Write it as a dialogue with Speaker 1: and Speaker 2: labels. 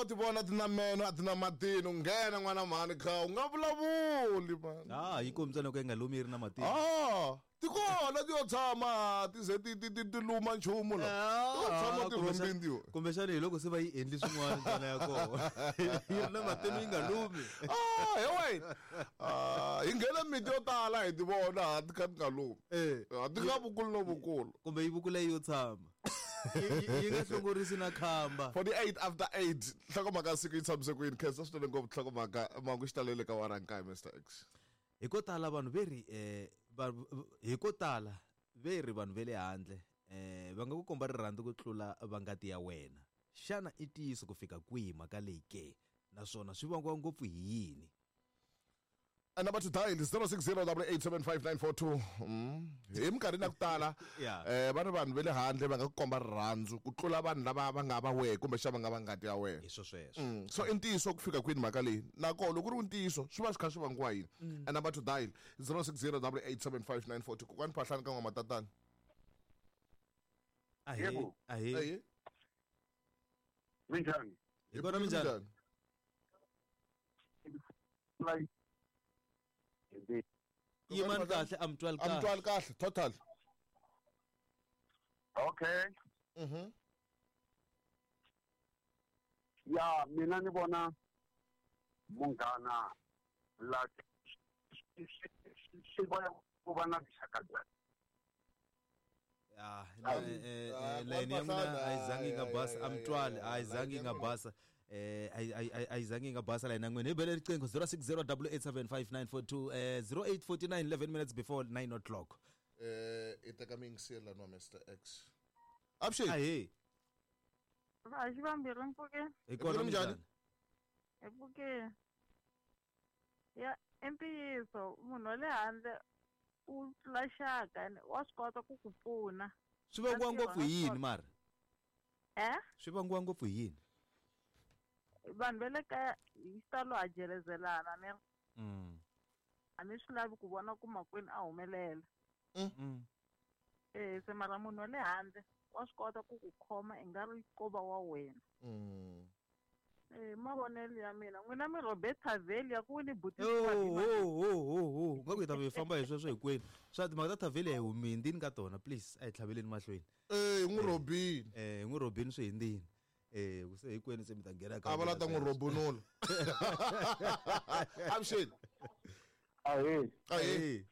Speaker 1: Wo ti vona ti na meno a ti na matino nghena n'wana mhani kha u nga vulavuli mani.
Speaker 2: Ah, yi kombisa loko yi nga lumi yi ri na matino.
Speaker 1: Ah, ti kona ti yo tshama ti ze ti ti ti ti luma nchumu la. Ti yo tshama ti rhombini ti yo.
Speaker 2: Kumbexana hi loko se va yi endli swin'wana ndzana ya kona. Yi ri na matino yi nga lumi.
Speaker 1: Ah, he wena. Ah, hi nghene miti yo tala hi ti vona ha ti kha ti nga lumi.
Speaker 2: Eh.
Speaker 1: Ah, ti nga vukulu no vukulu.
Speaker 2: Kumbe yi vukula yi yo tshama. Yi nga hlongorisi na khamba.
Speaker 1: 48 after 8 nhlokomhaka siku yi tshamise ku yini khensa swinene ngopfu nhlokomhaka mangu xi talele ka warankaye Mr X.
Speaker 2: Hi ko tala vanhu ve ri hi ko tala ve ri vanhu ve le handle va nga ku komba rirhandzu ku tlula va ngati ya wena. Xana i ntiyiso ku fika kwihi mhaka leyi ke? Naswona swi vangiwa ngopfu hi yini?
Speaker 1: And number to dial is 0608875942. Hi minkarhini ya ku tala va ri vanhu va le handle va nga ku komba rirhandzu ku tlula vanhu lava va nga va wehe kumbexana va nga va ngati ya wena.
Speaker 2: Hi swo sweswo.
Speaker 1: So i ntiyiso ku fika kwini mhaka leyi? Nakona loko ku ri ntiyiso swi va swi kha swi vangiwa yini? And number to dial 0608875942. Kokwani Phahlani ka N'wamatatana.
Speaker 2: Ahee, ahee.
Speaker 1: Ahee.
Speaker 3: Minjhani?
Speaker 2: Hi kona minjhani? Yimani kahle, a mi twali
Speaker 1: A mi twali kahle, total.
Speaker 3: Okay. Ya, mina ni vona munghana la swi vona ku va na vuxaka bya.
Speaker 2: Ah, layeni ya n'wina a yi zangi yi nga basa, a mi twali, a yi zangi yi nga basa. A yi zangi yi nga basa layeni ya n'wina. Hi bele riqingho 0608875942 0849 11 minutes before 9 o'clock.
Speaker 1: I teka miyingiseri laniwa Mr X. Avuxeni.
Speaker 2: Ahee.
Speaker 4: Va xi vambirhi mpfukeni.
Speaker 2: Hi kona
Speaker 1: minjhani?
Speaker 4: Hi pfukeni. Ya, i ntiyiso munhu wa le handle u tlula xaka wa swi kota ku ku pfuna.
Speaker 2: Swi vangiwa ngopfu hi yini mara?
Speaker 4: Eh?
Speaker 2: Swi vangiwa ngopfu hi yini?
Speaker 4: Vanhu va le kaya hi xitalo ha jelezelana ne. A ni swi lavi ku vona ku makwenu a humelela. Se mara munhu wa le handle wa swi kota ku ku khoma i nga ri ko va wa wena. Mavonelo ya mina n'wina mi Robert Tavelia ku ni buti.
Speaker 2: Ho nga ku hi ta mi famba hi sweswo hinkwenu. Swa timhaka ta Tavelia hi humi hindzini ka tona, please a hi tlhaveleni mahlweni.
Speaker 1: Hi n'wi robini.
Speaker 2: Hi n'wi robini swi hindzini. Ku se hinkwenu se mi ta nghena ka
Speaker 1: A va la ta n'wi robunula. Avuxeni.
Speaker 3: Ahee.
Speaker 1: Ahee.